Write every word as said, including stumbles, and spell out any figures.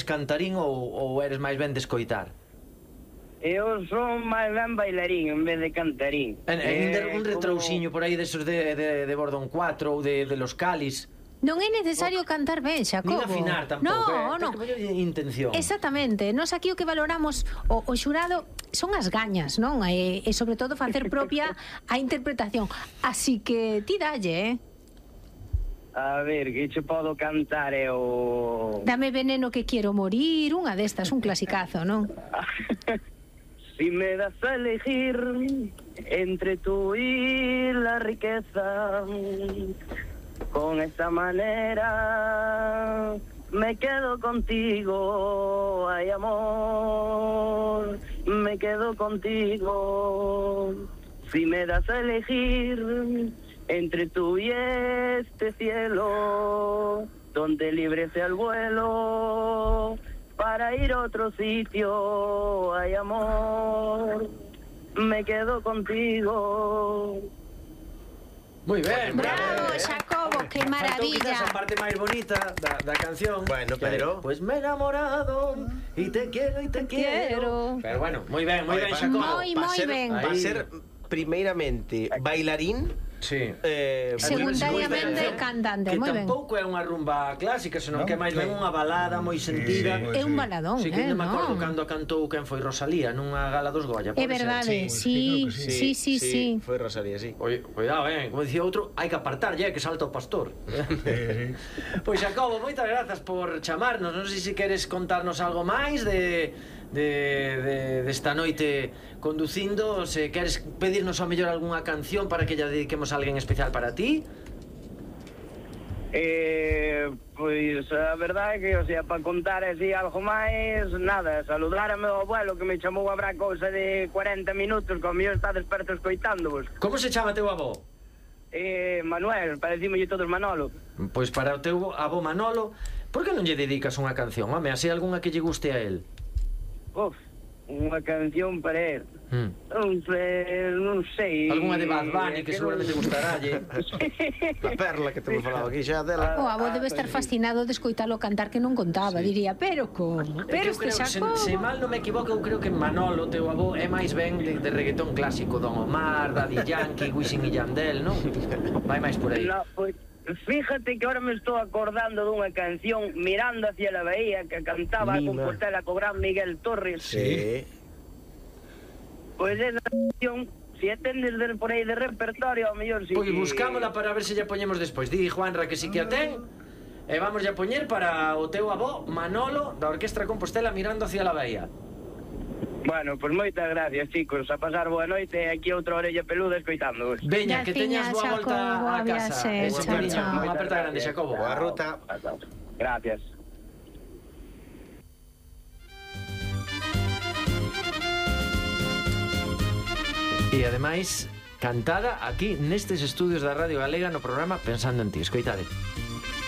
cantarín ou, ou eres máis ben de escoitar? Eu son máis ben bailarín en vez de cantarín. En, en eh, un retrousiño por aí desos de, de, de Bordón cuatro ou de, de Los Calis. Non é necesario cantar ben, Xacobo. Nin afinar tampouco, no, eh? no. Ten que poñer intención. Exactamente. Nos aquí o que valoramos o, o xurado son as gañas, non? E, e sobre todo facer propia a interpretación. Así que ti dalle, eh? A ver, que che podo cantar eu... Dame veneno que quiero morir, unha destas, un clasicazo, non? Si me das a elegir entre tú y la riqueza, con esta manera me quedo contigo, ay amor, me quedo contigo. Si me das a elegir entre tú y este cielo, donde libre sea el vuelo, para ir a otro sitio, ay amor, me quedo contigo. Moi ben, Bravo, eh. Xacobo, que Faltou maravilla. quizás a parte máis bonita da, da canción. Bueno, pero- Pues me he enamorado y te quiero y te quiero. quiero. Pero bueno, moi ben, moi Oye, ben, pa- Xacobo. Moi, pa moi ser- ben. Pa Ahí. ser primeiramente bailarín, Sí. eh, Secundariamente moi ben. cantante, que moi ben. tampouco é unha rumba clásica, senón No, que é máis ben claro. unha balada moi sentida. Sí, É un baladón, Sí, que eh, non me acordo non? cando cantou quen foi Rosalía nunha gala dos Goya. É pode ser? verdade, Sí, sí, sí, sí, sí. Foi Rosalía, sí. Oye, cuidado, eh, como dicía outro, hai que apartar, ya que salta o pastor. Pois Xacobo, moitas grazas por chamarnos. Non sei se queres contarnos algo máis de de, de desta noite conducindo, se queres pedirnos ao mellor algunha canción para que lla dediquemos a alguén especial para ti. Eh, pois a verdade é que, o sea, para contar así algo máis, nada, saludar a meu abuelo que me chamou a bra cousa de cuarenta minutos, que o mío está desperto escoitándovos. Como se chama teu avó? Eh, Manuel, parecímolle todos Manolo. Pois para o teu avó Manolo, por que non lle dedicas unha canción? Home, así algunha que lle guste a él. Uf, unha canción para él. Hmm. Non sei, non sei. Algunha de Bad Bunny que que seguramente non- gustaralle. A perla que te me falaba aquí xa dela. O avó debe estar fascinado de escoitalo cantar que non contaba, diría, pero como? É que Pero eu este creo, se, Xacobo. se mal non me equivoco, eu creo que Manolo, teu avó, é máis ben de, de reggaetón clásico, Don Omar, Daddy Yankee, Wisin y Yandel, non? Vai máis por aí. No, pues, fíjate que ahora me estou acordando dunha canción Mirando hacia la bahía que cantaba a Mima. Compostela co gran Miguel Torres. Sí. Pois esa canción, se a tendes de, por aí de repertorio, ao mellor si Pois que... buscámola para ver se lla poñemos despois. Di Juanra que si que a ten. E vamos a poñer para o teu avó Manolo da Orquestra Compostela Mirando hacia la bahía. Bueno, pois pues moitas gracias, chicos. A pasar boa noite e aquí outra orella peluda escoitándoos. Veña, que teñas boa Graciñas, volta Xacobo, a casa. viaxe, Ese chao, cariño, chao. unha aperta grande, Xacobo. Boa ruta. Gracias. E ademais, cantada aquí nestes estudios da Radio Galega no programa Pensando en Ti. Escoitade.